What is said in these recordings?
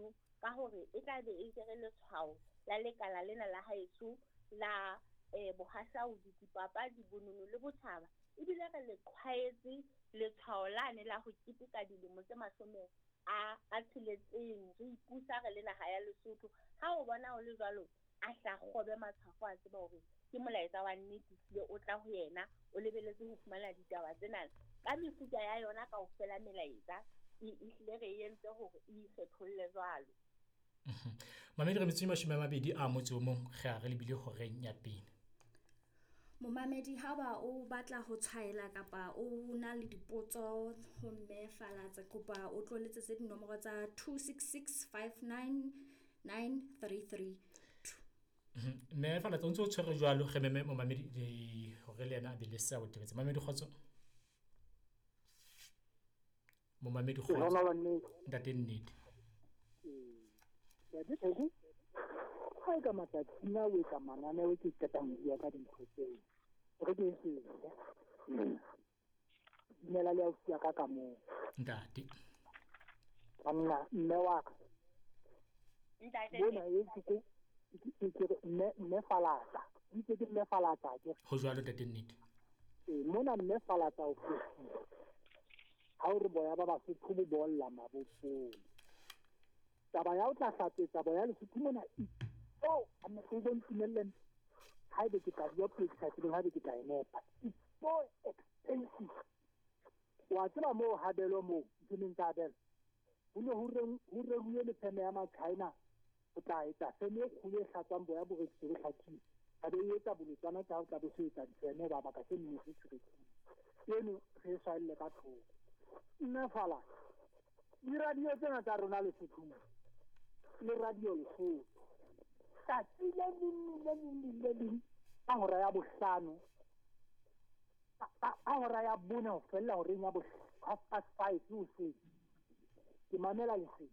mono ka hore e tla be e jere letshwao la lekala lena la haeso la bohahlaudi, dipapadi, bonono le botjhaba. Ebile re le qhwaetse letshwao lane la ho keteka dilemo tse 60 re ipusa re le naha ya Lesotho. Ha o bona ho le jwalo, a hla kgobe matshwafo, a tseba hore ke molaetsa wa nnete hlile o tla ho yena, o lebeletse ho fumana ditaba tsena ka mefuta ya yona kaofela. Melaetsa e hlile re entse hore e ikgetholle jwalo. Mamedi, re metsotso e 21 re a re lebile horeng ya pele. Momamedi, ha ba o batla ho tshwaela kapa o na le dipotso ho Mme Falatsa, kopa o tlo letsetse dinomoro tsa 266 59 933. Mme Falatsa, o ntse o tshwere jwalo, re meme momamedi hore le yena a be le seabo tebetse. Mamedi, kgotso. Momamedi, kgotso. Ntate Nnete. Ntate Theko, ha e ka matsatsing a o etsa mananeo ke qetang ho bua ka dintho tseo, re ke sese. Dumela le ausi ya ka ka moo. Ntate. Banna, mme wa ka. Ntate. Mona e ke ke re mme Falatsa. Itse ke mme Falatsa ke. Ho jwalo, ntate Nnete. Mona mme Falatsa o fositse. Ha o re boya ba Basotho bo bolla mabopong. Taba ya o tla hlapetsa boya Lesotho mona oh, a motho o ntumelleng haebe ke tla bua puo ke sa tsebeng, haebe ke tla e nepa. It's so expensive. Wa tseba moo Habelo moo, nthong tsa Habelo. Ho ne ho reruwe le feme ya ma-China ho tla etsa feme e kgolo e hlatswang boya bo rekiswe bo hlakile. Ba be e etsa bolotsana tsa ho tla bo se etsa difeme ba baka se nne se rekile. Eno re e swaelle ka thoko. Mme Fala, di-radio tsena tsa rona Lesothong le radio Lesotho, tsatsi le leng le leng le leng ka hora ya bohlano, ka hora ya bone ho fella horeng ya 5:30 hoseng, ke mamela Lesedi.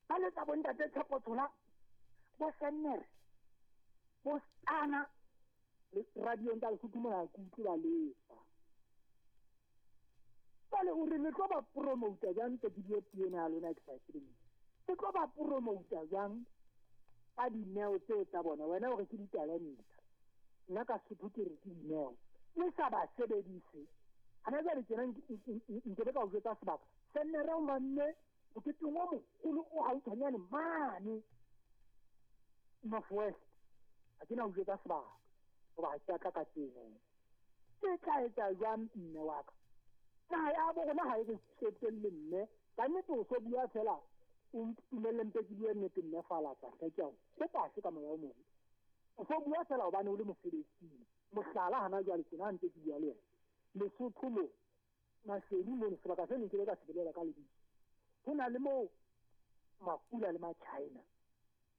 Ba letsa bo ntate Tshepo Tshola, bo Sennere, bo Stana, radiong tsa Lesotho mona ke utlwe ba letsa. Jwale o re le tlo ba promota jwang ntse ke bue puo ena ya lona ke sa e tsebeng? Le tlo ba promota jwang ka dineo tseo tsa bona? Wena o re ke ditalenta, nna ka Sotho ke re ke dineo. Le sa ba sebedise. Hana jwale tjena nke be ka o jwetsa sebaka. Sennere o manne moketeng o moholo o hautshwanyane mane North West. Ha ke na o jwetsa sebaka hoba ha ke a tla ka tseno. Ke tla etsa jwang mme wa ka? Naha ya bo rona ha e re tsotelle mme. Ka nnete o so bua fela, o ntumelle mpe ke bue nnete mme Falatsa, hle ke a o kopa hle ka moya o mobe. O so bua fela hobane o le mosebetsing. Mohlala hana jwale tjena ha ntse ke bua le wena. Lesotho mo, Maseru mono, sebaka se neng ke le ka se bolela ka lebitso. Ho na le moo Makula le ma-China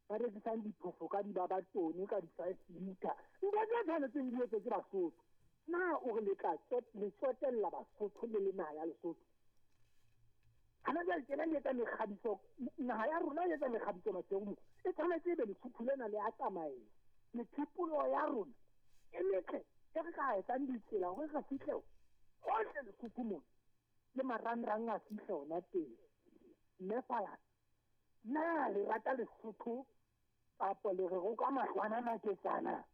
ba rekisang diphofo ka dibabatone ka di-5 liter. Ntho tse tshwanetseng di etswe ke Basotho. Na o re le tla le tsotella Basotho le le naha ya Lesotho? Hana jwale tjena le etsa mekgabiso, naha ya rona e etsa mekgabiso Maseru mo. E tshwanetse ebe Lesotho lena le a tsamaea. Methepolo ya rona e metle e re ka etsang ditsela hore re fihle hohle Lesotho mona. Le marangrang a fihle hona teng. Mme Falatsa, na le rata Lesotho kapa le re roka mahlwana maketsana?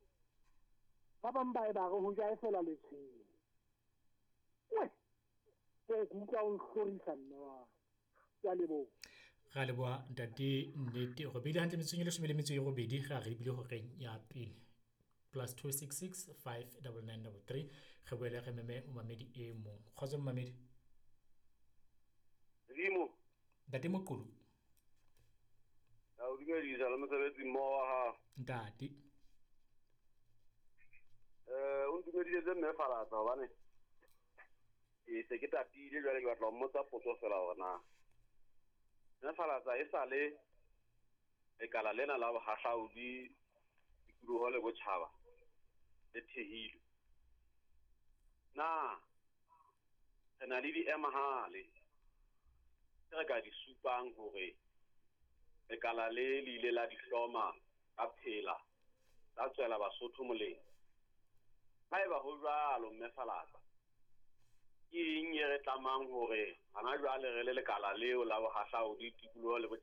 Ba bang ba e ba re ho jaefela letshwele. We, o ke utlwa o nhlorisa mme wa ka. Ke a leboha. Ra leboha ntate Nnete. Re beile hantle metsotsong e 18 re a re lebile horeng ya pele. +266 59933. Re boele re meme momamedi e mong. Kgotso momamedi. Zimo. Ntate Moqulu. A o dumedisa le mosebetsi mmoho wa hao. Ntate. O ntumedisetse mme Falatsa hobane ke se ke tatile jwale ke batla ho mmotsa potso fela hore na mme Falatsa e sa le lekala lena la bohahlaudi tikoloho le botjhaba le thehilwe. Na re na le diemahale tse re ka di supang hore lekala le le ile la di hloma ka phela tsa tswela Basotho molemo? Haeba ho jwalo mme Falatsa, ke eng e re tlamang hore hana jwale re le lekala leo la bohahlaudi tikoloho le botjhaba?